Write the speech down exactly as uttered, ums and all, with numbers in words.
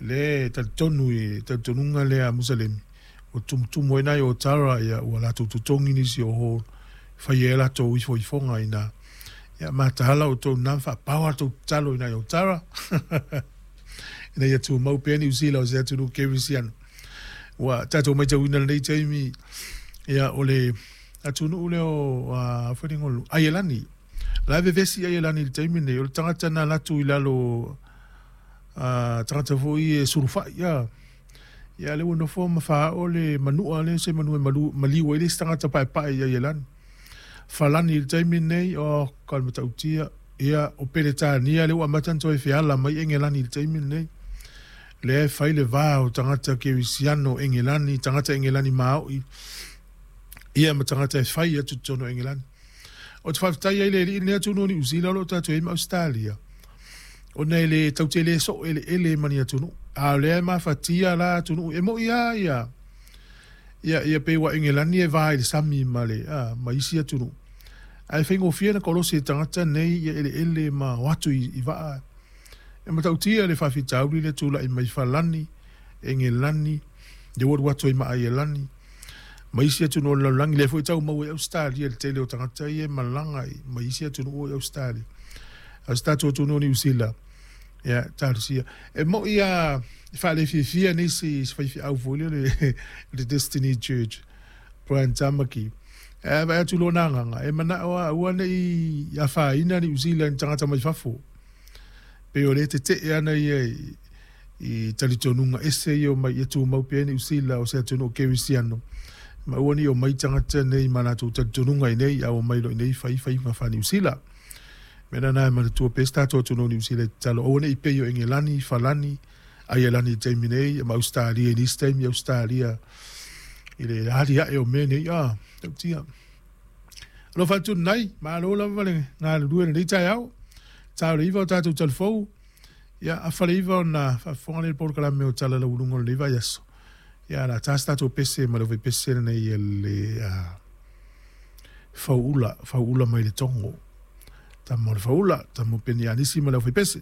Le talitonu i talitonuga lea a Musalemi ua tumutumu ai nai o tara ia ua latou totogi nisi o oho fai ai latou ifoifoga ina ia mataala outou na faapao a tou tatalo i nai o tara ina ia tumau pea Niu Sila o se atunuu kerisiano. Ua tatou matauina lenei taimi ia o le atunuu lea o uh, Aielani la e vevesi Aielani i le taimi nei o le tagata na latu i lalo uh, tagata foi e sulufai ia ia le ua nofo ma faaoo le manua le se manu e malu, maliu ai le isi tagata paepae i Aielani. Falani i le taimi nei o ka le matautia ia o Peretania le ua amata ona toe feala mai Engelani i le taimi nei lea e fai le va o tagata kerisiano Engelani, tagata Engelani maoi ia ma tagata e fai atu totonu o Engelani. O te faafetai ai le alii lenei atunuu o Niu Sila o lo o tatou i ai ma Ausetalia ona e le tatou te le soo eleele ma ni atunuu a o lea e mafatia la atunuu e moi lava ia ia ia pei ua Engelani e va i le sami ma le a, ma isi atunuu ae faigofie na kolosi e tagata nei ia eleele ma o atu i, i vaa e matautia le faafitauli le tulai mai Falani, Engelani, le ua alu atu ai ma Aielani ma isi atunuu o le lalolagi lea foi tau maua i Ausetalia le tele o tagata ia e malaga ma isi atunuu i Ausetalia. A o se tatou atunuu o Niu Sila ia talosia e moi a e faalefiafia nisi se faifeau foi lea le, le Destiny Church Brian Tamaki e vaai atu lona agaga e manao a aua nei afaina Niu Sila i ni tagata mai fafo pei o le tetee ana ia i, i talitonuga ese ia o mai ia tumau pea Niu Sila o se atunuu kerisiano ma aua nei omai tagata nei ma latou talitonuga i nei a omai loa i nei fai faiga faa Niu Sila. Mea lena e manatua pea se tatou atunuu o Niu Sila i tatalo aua nei pei o Engelani, Falani, Aielani i le taimi nei ma Ausetalia i nisi taimi Ausetalia i le aliae o mea nei a tautia. Alofa atu lenai, malo lava le galulue i lenei taeao. Ta o le iva o tatou talafou, ia afa le iva ona faafofoga lea i le polokalame o Tala Lauuluga o lenei vaiaso. Ia la ta se tatou pese ma le aufaipese lenei e le uh, fauula, fauula mai le Togo. Tama o le faula, tama o Penianisi ma le aufaipese.